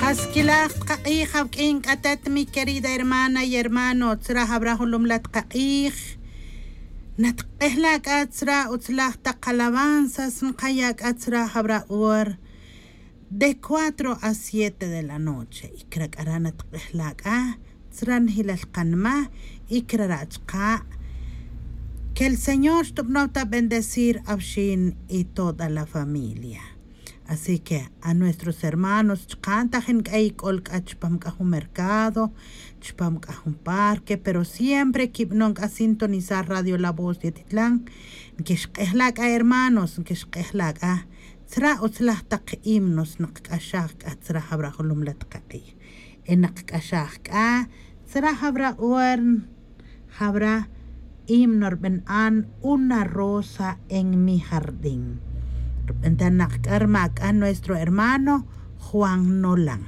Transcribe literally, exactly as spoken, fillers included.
Asquilaj takak'ij awq'uin k'atet mi querida hermana y hermano tzra jawra julumla takak'ij. Natk'ejla' k'a tzra utzlaj tak alabanzas nkaya' k'a tzra jawra hor de cuatro a siete de la noche y krak'ara' natk'ejla' k'a tzra njilal kanma y krara' chka'. Que el señor xtubnow ta bendecir awxin y toda la familia. Así que a nuestros hermanos chka' ntajin k'a ik'ol k'a chpam k'a jun mercado, chpam k'a jun parque pero siempre kibnon k'a sintonizar radio la voz de titlan. Nkixk'ejla' k'a hermanos nkixk'ejla' k'a tzra utzlaj tak himnos nkak'axaj k'a tzra jawra julumla takak'ij. Y nkak'axaj k'a tzra jawra hor jawra himno rb'an an una rosa en mi jardín. Rb'antanak k'a rma k'a nuestro hermano juan nolan.